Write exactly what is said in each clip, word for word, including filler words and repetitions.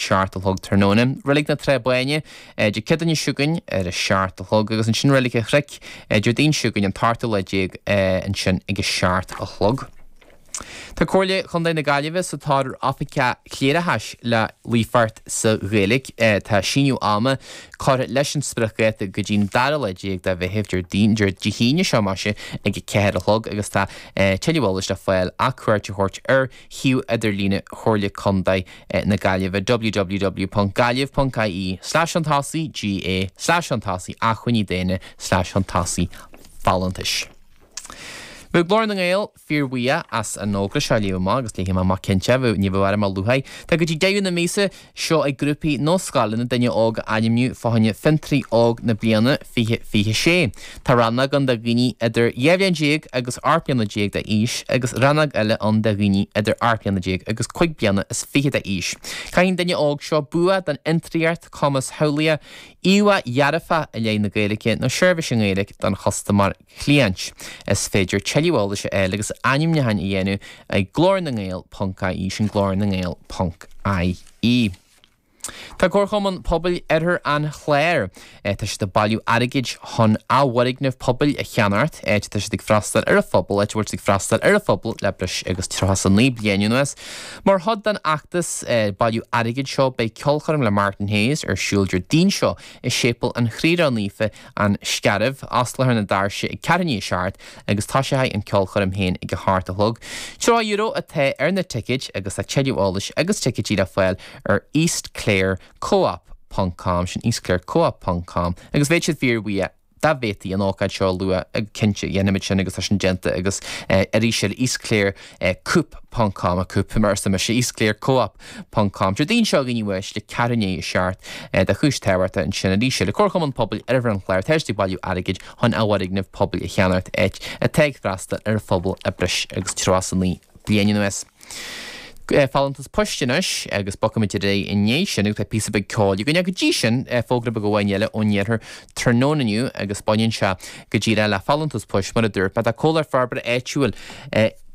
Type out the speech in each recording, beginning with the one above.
seacht a chlog tráthnóna. Reilig na Trá Báine Dé Céadaoine seo chugainn ar a seacht a chlog agus ansin Reilig an Chnoic Déardaoin seo chugainn an t-ochtú lá déag ansin ag a seacht a chlog. Tá Comhairle Chontae na Gaillimhe sa tóir ar oifigeach cléireachais le líofacht sa Ghaeilge. Tá síneadh ama curtha leis an spriocdháta go dtí'n dara lá déag de Mheitheamh, Déardaoin, Dé hAoine seo más ea, ag a ceathair a chlog agus tá tuilleadh eolais le fáil ach cuairt a thabhairt ar shuíomh idirlíne Chomhairle Contae na Gaillimhe www ponc gaillimh ponc ie slash chun tosaigh GA slash chun tosaigh acmhainní daonna slash chun tosaigh folúntais. Bheadh Glór na nGael fíorbhuíoch as an fhógra seo a léamh amach agus léifidh mé amach cinnte, bheadh, ní bheadh orm a luaithe. Tá go dtí deireadh na míosa seo ag grúpaí nó scoileanna duine óg a ainmniú fá choinne Fiontraí Óg na Bliana fiche fiche sé. Tá rannóg ann do dhaoine idir dhá bhliain déag agus ocht mbliana déag d'aois agus rannóg eile ann do dhaoine idir ocht mbliana déag agus cúig bliana is fiche d'aois. Caithfidh an duine óg seo bua don fhiontraíocht, cumas samhlaíoch, íomhá dhearfach i leith na Gaeilge nó seirbhís i nGaeilge don chustaiméir, cliant. Is féidir tuilleadh eolais a fháil agus ainmniúcháin a dhéanamh ag glór na nGael ponc ie, sin glór na nGael ponc ie. Tá Comharchumann Pobail Oirthear an Chláir, tá siad ag bailiú airgid chun athfhoirgneamh pobail a cheannacht, áit atá siad ag freastal ar an phobal, áit a bhfuil siad ag freastal ar an phobal le breis agus tríocha is a naoi bliain anuas. Mar chuid den fheachtas bailiú airgid seo beidh ceolchoirm le Martin Hayes ar siúl Déardaoin seo i Séipéal an Chroí Ró-Naofa, An Scairbh, osclófar na doirse ag ceathrú i ndiaidh a seacht agus tosóidh an ceolchoirm féin ag a hocht a chlog. Tríocha euro atá ar na ticéid agus tá tuilleadh eolais agus ticéidí le fáil ar eastclare co-op ponc com, sin eastclare co-op ponc com, agus bheadh siad fíorbhuíoch dá bhféadfaí an ócáid seo a lua, cinnte, dhéanfaimid sin agus tá sin déanta agus arís eile eastclare coop ponc com, coop mar arsa mise, eastclare co-op ponc com. Déardaoin seo a dhaoine uaisle, ceathrú i ndiaidh a seacht do chúis tábhachtach ansin arís eile. Comharchumann Pobail Oirthear an Chláir, tá siad ag bailiú airgid chun athfhoirgneamh pobail a cheannacht áit atá ag freastal ar an phobal le breis agus tríocha is a naoi bliain anuas. Folúntas poist anois agus bogfaimid ar aghaidh i ndiaidh sin agus beidh píosa beag ceoil againn. Go dtí sin, fógra beag amháin eile ón iarthar tráthnóna inniu agus baineann sé go díreach le folúntas poist mar a dúirt mé. Tá Comhlacht Forbartha Áitiúil,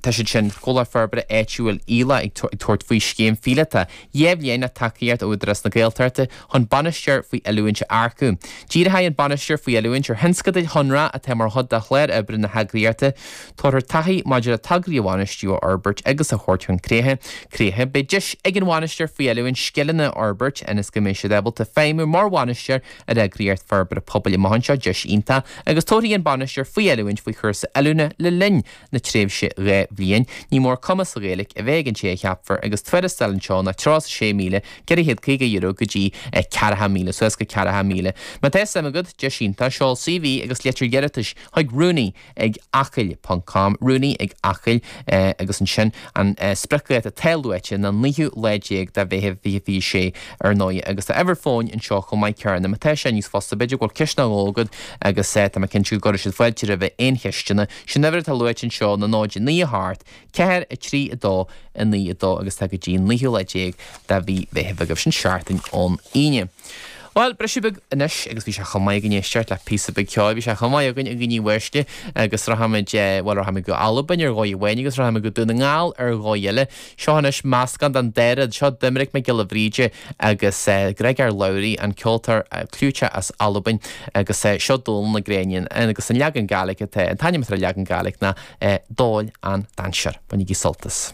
tá siad sin, Comhlacht Forbartha Áitiúil Íle ag tabhairt faoi scéim phíolótach dhá bhliain le tacaíocht ó Údarás na Gaeltachta chun bainisteoir faoi oiliúint a earcú. Díreoidh an bainisteoir faoi oiliúint ar thionscadail shonracha atá mar chuid de chlár oibre na heagraíochta. Tabharfar taithí maidir le tograí a bhainistiú, a fhorbairt agus a thabhairt chun críche. Críche. Beidh deis ag an bhainisteoir faoi oiliúint scileanna a fhorbairt ionas go mbeidh siad ábalta feidhmiú mar bhainisteoir ar eagraíocht forbartha pobail amach anseo, deis iontach, agus tabharfaidh an bainisteoir faoi oiliúint faoi chúrsa oiliúna le linn na tréimhse dhá bhliain. Ní mór cumas sa Ghaeilge a bheith ag an té a cheapfar agus tuarastal anseo ná tríocha sé míle ceithre chéad caoga euro go dtí ceathracha míle, suas go ceathracha míle. Má tá suim agat, deis iontach, seol CV agus litir iarratais chuig rúnaí ag acaill ponc com, rúnaí ag acaill, agus ansin an spriocdháta atá luaite ná naoú lá déag de Mheitheamh fiche fiche sé ar ndóigh agus tá uimhir fóin anseo chomh maith céanna má tá sé níos fusa, b'fhéidir go bhfuil ceist nó dhó agat agus tá mé cinnte go gcuirfidh siad fáilte roimh aon cheisteanna. Sin uimhir atá luaite anseo ná náid naoi a hocht, ceathair, a trí, a dó, a naoi, a dó agus tá go dtí an naoú lá déag de mhí Mheithimh agaibh, sin seachtain ón Aoine. Bhuel, briseadh beag anois agus bhí sé chomh maith againn éisteacht le píosa beag ceoil, bhí sé chomh maith againn a dhaoine uaisle agus rachaimid, bhuel, rachaimid go Albain ar dhóigh amháin agus rachaimid go Dún na nGall ar dhóigh eile. Seo anois meascán den dá rud, seo Doiminic Mac Giolla Bhríde agus Griogair Labhruidh, an ceoltóir clúiteach as Albain agus seo Dòmhnall na Gréine agus an leagan Gàidhlig atá, an t-ainm atá ar an leagan Gàidhlig ná Dòmhnall an Dainséar. Bainigí sult as.